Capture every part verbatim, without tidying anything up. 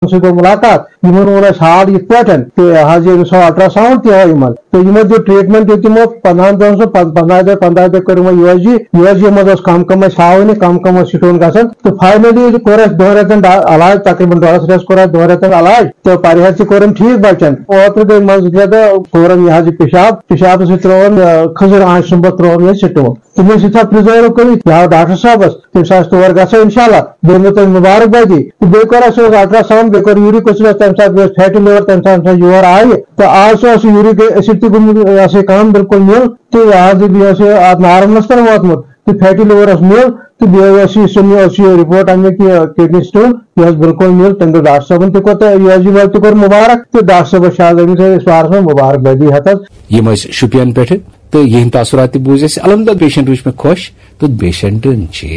سۭتۍ گوٚو مُلاقات، یِمن ووٚن اَسہِ حال یِتھ پٲٹھۍ، تہٕ حظ یہِ أمِس آو الٹراساؤنڈ تہِ آو یِمن، تہٕ یِمن دیُت ٹریٹمنٹ دیُت تِمو پندہن دۄہن، سُہ پن-، پندہاے دۄہ، پندہاے دۄہ کٔر یِمو U S G, U S G منٛز اوس کم کم اَسہِ ہاوان یہِ، کم کم اوس سٹون گژھان، تہٕ فاینلی کوٚر اَسہِ دۄن رٮ۪تن ڈا-، علاج، تقریباً ڈۄڈس رٮ۪تس کوٚر اَسہِ دۄن رٮ۪تن علاج، تہٕ پرہیز تہِ کوٚرُن ٹھیٖک بچن۔ اوترٕ گٔے منٛزٕ زٕ ترٛےٚ دۄہ کوٚرُن یہِ حظ یہِ پِشاب، پِشابہٕ سۭتۍ ترٛووُن، آ، کھٔزٕر آنٛچہِ سُنٛمبہٕ ترٛووُن یہِ سٹون۔ تٔمِس یُتھا پرزٲرو کٔرِتھ، یہِ آو ڈاکٹر صٲبس، تٔمِس آسہِ تور گژھو انشاءاللہ، بیٚیہِ دِمو تۄہہِ مُبارک بادی۔ تہٕ بیٚیہِ کوٚر اَسہِ اوس الٹراساؤنڈ، بیٚیہِ کوٚر یوٗرِک ایسڈ، تَمہِ ساتہٕ بیٚیہِ اوس فیٹی لِور، تَمہِ ساتہٕ یُس یور آیہِ، تہٕ آز چھُ اَسہِ یوٗرِک ایسڈ تہِ گوٚمُت، یہِ ہسا یہِ کم بالکل نِل، تہٕ یہِ حظ یہِ بیٚیہِ اوس یہِ اَتھ نارملس پٮ۪ٹھ ووتمُت، تہٕ فیٹی لِور اوس نِل، تہٕ بیٚیہِ اوس یہِ سُہ اوس یہِ رپورٹ اَمیُک یہِ کڈنی سٹون، یہِ اوس بالکل نِل۔ تٔمۍ دوٚپ ڈاکٹر صٲبن تہِ کوٚر تہٕ یہِ حظ یہِ وٲلۍ تہِ کوٚر مُبارک، تہٕ ڈاکٹر صٲبس چھِ آز أمِس أسۍ وارس منٛز مُبارک بادی ہٮ۪تھ حظ۔ یِم ٲسۍ شُپین پٮ۪ٹھٕ تہٕ یِہنٛدۍ تاثرات تہِ بوٗزۍ اَسہِ۔ الحمدللہ پیشنٹ وٕچھ مےٚ خۄش تہٕ پیشنٹن چھِ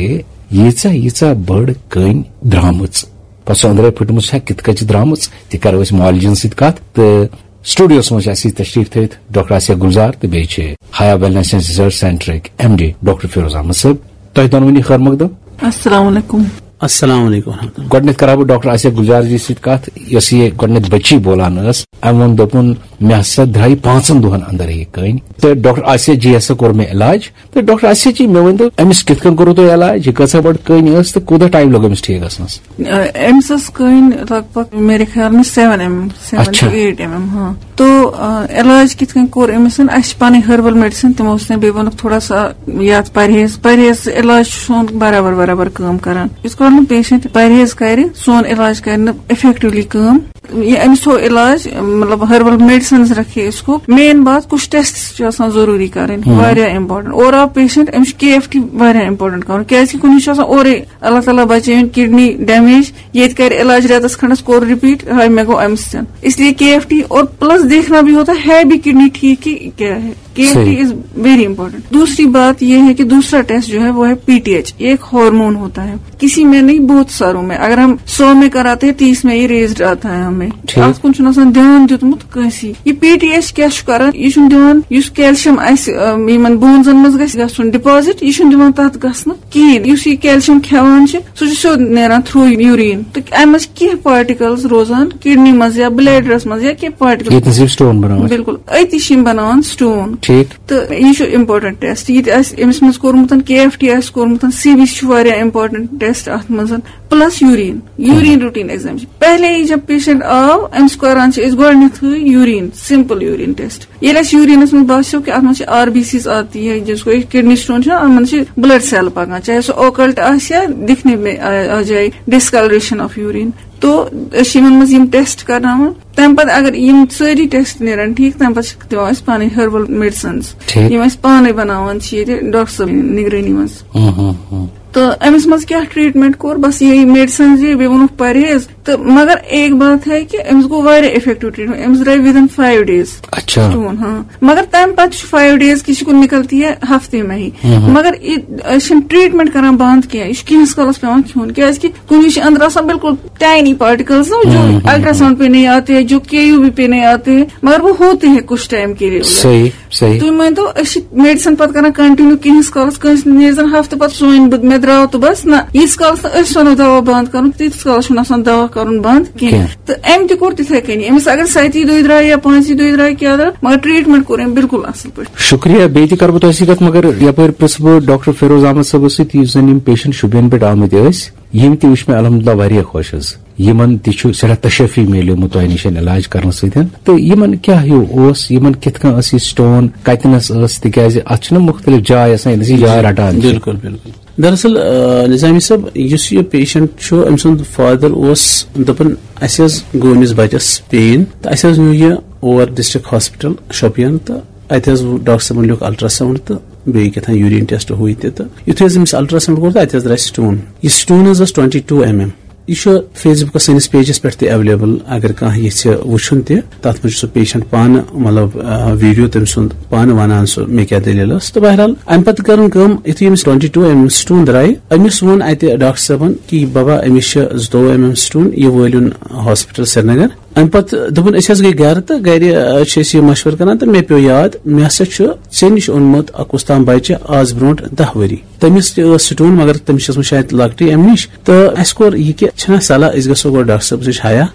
ییٖژاہ ییٖژاہ بٔڑ کٔنۍ درٛامٕژ۔ پتہٕ سۄ أنٛدرے پھٕٹمٕژ چھےٚ، کِتھ کٔنۍ چھِ درٛامٕژ، تہِ کرو أسۍ معالجن سۭتۍ کتھ۔ تہٕ سٹوڈیوس منٛز چھِ اَسہِ سۭتۍ تشریف تھٲوِتھ ڈاکٹر آسیہ گلزار تہٕ بیٚیہِ چھِ حیا ویلنس اینڈ ریسرچ سینٹرٕکۍ M D doctor Feroz Ahmad صٲب۔ تۄہہِ دۄنوٕنی خٲر مقدم۔ السلام علیکم۔ السلام علیکم ورحمۃ اللہ۔ گۄڈٕنیتھ کرٕ ہا بہٕ ڈاکٹر آسیہ گلزار جی سۭتۍ کتھ، یۄس یہِ گۄڈٕنیتھ بچی بولان ٲس۔ أمۍ ووٚن، دوٚپُن، مےٚ ہسا درٛایہِ پانٛژن دۄہن اندر یہِ کٔنۍ۔ تہٕ ڈاکٹر آسیہ جی ہسا کوٚر مےٚ علاج۔ تہٕ ڈاکٹر آسیہ جی، مےٚ ؤنۍ تو، أمِس کِتھ کٔنۍ کوٚروٕ تۄہہِ علاج؟ یہِ کۭژاہ بٔڑ کٔنۍ ٲس تہٕ کوٗتاہ ٹایم لوٚگ أمِس ٹھیٖک گژھنس؟ آ، أمِس ٲس کٔنۍ لگ بگ میرے خیال میں سیون ایم ایم، سیون اچھا۔ ٹو ایٹ ایم ایم، ہاں۔ تو، آ، علاج کِتھ کٔنۍ کوٚر أمِس؟ اَسہِ چھِ پنٕنۍ ہربل میڈیسن، تِمو اوس مےٚ بیٚیہِ ووٚنُکھ تھوڑا سا یتھ پرہیز، پرہیز علاج چھُ سون برابر برابر کٲم کران۔ یُس کال نہٕ پیشنٹ پرہیز کرِ، سون علاج کرِ نہٕ افیکٹولی کٲم۔ یہ أمِس تھوٚو علاج، مطلب ہربل میڈیسنز رکھے اس کو۔ مین بات، کچھ ٹیسٹ چھِ آسان ضروٗری کرٕنۍ، ہم۔ واریاہ امپورٹنٹ۔ اور آو پیشنٹ، أمِس چھُ کے ایف ٹی واریاہ امپورٹنٹ کرُن، کیازِ کہِ کُنہِ چھُ آسان اورے اللہ تعالیٰ بچٲیِن کڈنی ڈیمیج، ییٚتہِ کرِ علاج رٮ۪تس کھنڈس، کوٚر رِپیٖٹ، ہاے مےٚ گوٚو امہِ سۭتۍ۔ اس لیے کے ایف ٹی اور پلس دیکھنا بھی ہوتا ہے، ہے بھی کڈنی ٹھیک کہ کیا ہے۔ کے ایف ٹی صحیح۔ Is very important. دوسری بات یہ ہے کہ دوسرا ٹیسٹ جو ہے وہ ہے پی ٹی ایچ، یہ ایک ہارمون ہوتا ہے، کسی میں نہیں، بہت ساروں میں۔ اگر ہم سو میں کراتے ہیں، تیس میں یہ ریزڈ آتا ہے ہمیں۔ ٹھیک۔ اتھ کُن چھُنہٕ آسان دھیان دیُتمُت کٲنٛسی۔ یہِ پی ٹی ایچ کیٛاہ چھُ کران؟ یہِ چھُنہٕ دِوان یُس کیلشیم آسہِ، ٲم، یِمن بونزن منٛز گژھِ گژھُن ڈپازٹ، یہِ چھُنہٕ دِوان تتھ گژھنہٕ کِہیٖنۍ۔ یُس یہِ کیلشیم کھٮ۪وان چھِ، سُہ چھُ سیوٚد نیران تھرٛوٗ یوٗریٖن۔ تہٕ اَمہِ منٛز چھِ کینٛہہ پارٹیکلز روزان کڈنی منٛز یا بلیڈرس منٛز یا کینٛہہ پارٹیکل۔ ییٚتہِ نَس یِم سٹون بَناوان چھِ۔ بِلکُل، أتی چھِ یِم بَناوان سٹون۔ ٹھیٖک۔ تہٕ یہِ چھُ امپورٹنٹ ٹیسٹ۔ یہِ تہِ آسہِ أمِس منٛز کوٚرمُت، کے ایف ٹی آسہِ کوٚرمُت، سی بی سی چھُ واریاہ امپورٹنٹ ٹیسٹ اتھ منٛز، plus urine, urine routine exam چھِ۔ پہلے ہی جب پیشنٹ آو، أمِس کران چھِ أسۍ گۄڈٕنیتھٕے یوٗریٖن، سمپل یوٗریٖن ٹیسٹ۔ ییٚلہِ اَسہِ یوٗریٖنَس منٛز باسیو کہِ اَتھ منٛز چھِ آر بی سیٖز آتی ہے، جس کو کڈنی سٹون چھُ، اَتھ منٛز چھِ بلڈ سیل پکان، چاہے سُہ اوکلٹ آسہِ یا دِکھنے میں آ، آ جائے ڈسکلریشن آف یوٗریٖن۔ تو أسۍ چھِ یِمن منٛز یِم ٹیسٹ کرناوان۔ تَمہِ پتہٕ اگر یِم سٲری ٹیسٹ نیرن ٹھیٖک، تَمہِ پتہٕ چھِ دِوان أسۍ پانے ہربل میڈیسنز۔ ٹھیٖک۔ یِم أسۍ پانے بناوان چھِ ییٚتہِ ڈاکٹر صٲبٕنۍ نگرٲنی منٛز۔ ہُم، ہُم، ہُم۔ تہٕ أمِس منٛز کیٛاہ ٹریٹمنٹ کوٚر؟ بس یِہے میڈیسنز، بیٚیہِ ووٚنُکھ پرہیز۔ تہٕ مگر ایک بات ہے کہ أمِس گوٚو واریاہ افیکٹو ٹریٹمنٹ، أمِس درٛاے within five days اچھا۔ سٹون، ہاں۔ مگر تَمہِ پتہٕ چھُ فایو ڈیز کہِ شکل نکلتی ہے ہفتے میں ہی۔ ہم۔ مگر یہِ، أسۍ چھِنہٕ ٹریٹمنٹ کران بند کینٛہہ، یہِ چھُ کینٛہس کالس پٮ۪وان کھیوٚن، کیازِ کہِ کُنہِ وِزِ چھِ أنٛدرٕ آسان بالکل ٹاینی پارٹیکلز نا، جو ہم، ہم، ہم۔ الٹراساؤنڈ پہ نہیں آتے ہیں، جو کے یو بی پہ نہیں آتے ہیں، مگر وہ ہوتے ہیں کچھ ٹائم کے لیے۔ صحیح۔ صحیح۔ تُہۍ مٲنۍ تو، أسۍ چھِ میڈیسن پتہٕ کران کنٹینیو کینٛہس کالس، کٲنٛسہِ نیرِ زن ہفتہٕ پتہٕ سُہ وَنہِ بہٕ، مےٚ درٛاو تہٕ بس۔ نہ، ییٖتِس کالس نہٕ أسۍ وَنو دوا بنٛد کرُن، تیٖتِس کالس چھُنہٕ آسان دوا کرُن بنٛد کینٛہہ۔ کینٛہہ۔ تہٕ أمۍ تہِ کوٚر تِتھے کٔنی، أمِس اگر سَتی دۄہہِ درٛاے یا پانٛژھِ دۄہہِ درٛاے کیٛاہ درٛاو، مگر ٹریٹمنٹ کوٚر أمۍ بالکل اصل پٲٹھۍ۔ شُکریہ، بیٚیہِ تہِ کرٕ بہٕ تۄہہِ سۭتۍ کتھ، مگر یپٲرۍ پرژھٕ بہٕ ڈاکٹر فیروز احمد صٲبس سۭتۍ، یُس زن یِم پیشنٹ شُپین پٮ۪ٹھ آمٕتۍ ٲسۍ، یِم تہِ وٕچھ مےٚ الحمدللہ واریاہ خۄش حظ۔ یِمن تہِ چھُ سٮ۪ٹھاہ تشفی میلیومُت تۄہہِ نِش علاج کرنہٕ سۭتۍ۔ تہٕ یِمن کیٛاہ ہیوٗ اوس، یِمن کِتھ کٔنۍ ٲس یہِ سٹون، کتِنس ٲس، تِکیٛازِ اتھ چھُنہ مُختلف جاے آسان، ییٚتہِ نَس یہِ جاے رٹان چھِ۔ بِلکُل، بِلکُل۔ دراصل، آ، نظامی صٲب، یُس یہِ پیشنٹ چھُ، أمۍ سُنٛد فادر اوس دپان، اسہِ حظ گوٚو أمِس بچس پین، تہٕ اسہِ حظ نیوٗ یہِ اور ڈسٹرکٹ ہاسپٹل شوپیان، تہٕ اتہِ حظ ڈاکٹر صٲبن لیوٗکھ الٹراساؤنڈ تہٕ بیٚیہِ کیٛاہ تام یوٗریٖن ٹیسٹ، ہُہ یہِ تہِ۔ تہٕ یُتھُے حظ أمِس الٹراساؤنڈ کوٚر، تہٕ اتہِ حظ درٛاے سٹون۔ یہِ سٹون حظ ٲس twenty two mm۔ یہِ چھُ Facebook سٲنِس پیجَس پٮ۪ٹھ تہِ ایویلیبل، اگر کانٛہہ یژھِ وٕچھُن تہِ، تَتھ منٛز چھُ سُہ پیشنٹ پانہٕ، مطلب، آ، ویٖڈیو تٔمۍ سُنٛد پانہٕ وَنان سُہ مےٚ کیٛاہ دٔلیٖل ٲس۔ تہٕ بہرحال، اَمہِ پَتہٕ کٔرٕن کٲم، یُتھُے أمِس twenty two mm سٹون درٛاے، أمِس ووٚن اَتہِ ڈاکٹر صٲبَن کہِ، "بابا، أمِس چھِ زٕتووُہ mm سٹون، یہِ وٲلِن ہاسپِٹل سرینگر۔" اَمہِ پَتہٕ دوٚپُن، أسۍ حظ گٔے گَرٕ تہٕ گَرِ، آ، چھِ أسۍ یہِ مَشوَرٕ کَران تہٕ مےٚ پیوٚو یاد، مےٚ ہسا چھُ ژےٚ نِش اوٚنمُت اَکُس تام بَچہِ آز برونٛٹھ دَہ ؤری۔ تٔمِس تہِ ٲس سٹون، مگر تٔمِس چھِ ٲسمٕژ شاید لۄکٹٕے اَمہِ نِش۔ تہٕ اَسہِ کوٚر یہِ کہِ چھِنہ صلاح، أسۍ گژھو گۄڈٕ ڈاکٹر صٲبَس نِش حیا۔